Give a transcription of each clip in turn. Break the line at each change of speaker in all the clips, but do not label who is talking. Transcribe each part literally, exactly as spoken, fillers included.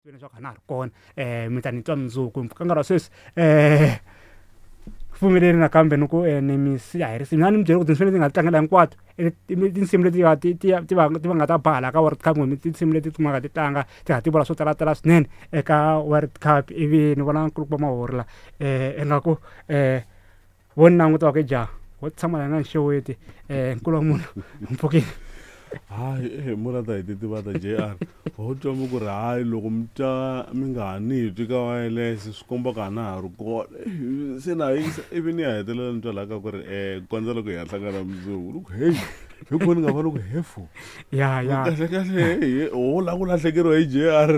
Leswaku a na ha ri kona um mi ta ni twa mundzuku ka nkarhi wa sweswi um pfumeleli nakambe ni ku ni mi siya hi risimu na ni mi byela ku tinsimu leti nga tlangela hinkwato tinsimu leti ti ti ti va ti va nga ta ba hala ka World Cup kumbe tinsimu leti ti nga ti tlanga ti ha ti vula swo talatala swinene eka World Cup ivi ni vona nkulukumba Mahorila um ingaku um vo ni languta va ku ja wo tshama la nga ni xeweti um nkulu wa munhu mpfukile.
Hayi eh murata hi titivata J R ho twa mi ku ri hayi loko mi twa mi nga ha ni twi ka wireless swi komba ku a na ha ri kona se na yingisa ivi ni ya hetelela ni twa laha ka ku ri um kondza loko hi ya hlangana mundzuku ni ku heyi hi kona ni nga va ni ku hefo.
Ya ya.
Kahle kahle he ho lava ku lahlekeriwa hi J R.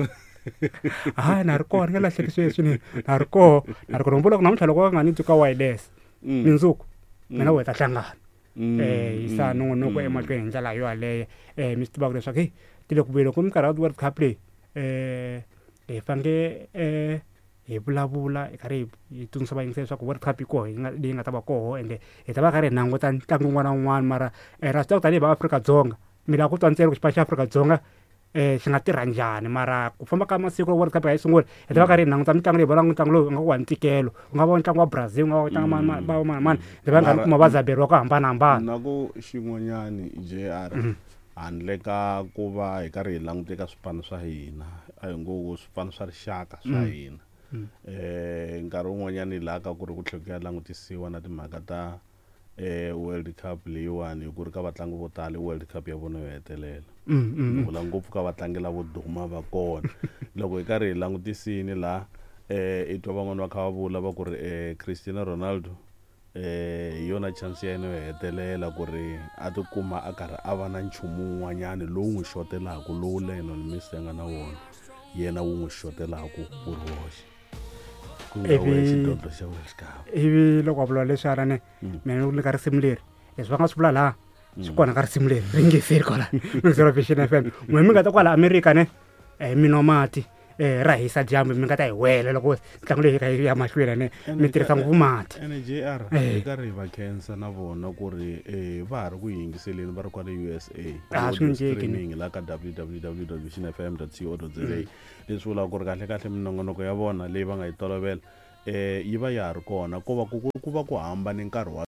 Hayi, na ri kona, ni nga lahleki sweswi ni na ri koho, na ri kona. Vula ku namuntlha loko va nga ni twi ka wireless, mindzuku mina we ta hlangana um yisa nongonoko emahlweni hi ndlela yo yaleyo. um mi swi tivaka leswaku heyi ti le ku vuyeni ku minkarhi ya World Cup leyi um hi faneke um hi vulavula hi karhi hi tsundzuxa vayingiseri leswaku World Cup yi koho yi nga leyi nga ta va koho, ende hi ta va karhi hi languta ntlangu wun'wana na wun'wana. Mara ra swi tiva ku tanihi va Afrika-Dzonga mi lava ku twa ntsena ku xipano xa Afrika-Dzonga um xi nga tirha njhani. Mara ku famba ka masiku World Cup yi sungula, hi ta va karhi hi languta mitlangu leyi vonaka ntlangu lowu nga ku wa ntikelo, ku nga va ntlangu wa Brazil, ku nga va ntlangu va mani mani, hi va karhi kuma vazaberi va ku hambanahambana.
Na ku xin'wanyani J R, handle ka ku va hi karhi hi languta eka swipano swa hina, a hi ngo swipano swa rixaka swa hina, eh nkarhi wun'wanyani laha ka ku ri ku tlhela ku ya langutisiwa na timhaka ta eh World Cup leyiwani, hi ku ri ka vatlangi vo tala i World Cup ya vona yo hetelela. Ni vula ngopfu ka vatlangi lavo duma va kona. Loko hi karhi hi langutisini laha eh i twa van'wani va kha va vula va ku ri eh Cristiano Ronaldo eh hi yona chance ya yena yo hetelela ku ri a tikuma a karhi a va na nchumu wun'wanyani lowu n'wi xotelaku, lowu Lionel Messi a nga na wona, yena wu n'wi xotelaku wu ri woxe, ku nga
Ivi-
we xidlodlo xa World Cup.
Ivi loko va vula leswiya ne mina ni ka risimu leri, leswi va nga swi vula laha swi kona ka risimu leri ringeseri kwala mingisela Vision F M. N'we mi nga ta kwala Amerika ne um mi nwa mati um ra hisa dyambu, mi nga ta hi wela loko ntlangu leyi yi ya mahlweni ne mi tirhisa ngopfu mati.
Ene J R,
Eh.
hi karhi hi va khensa na vona ku ri eh va ha ri ku yingiseleni va ri kwale U S A.
Ah, swi
Audio
nga cinci, ne.
streaming la ka W W W vision F M co za, leswi vulaka ku ri kahle kahle minongonoko ya vona leyi va nga yi tolovela eh yi va ya ha ri kona, ko va ku ku va ku hambane nkarhi wa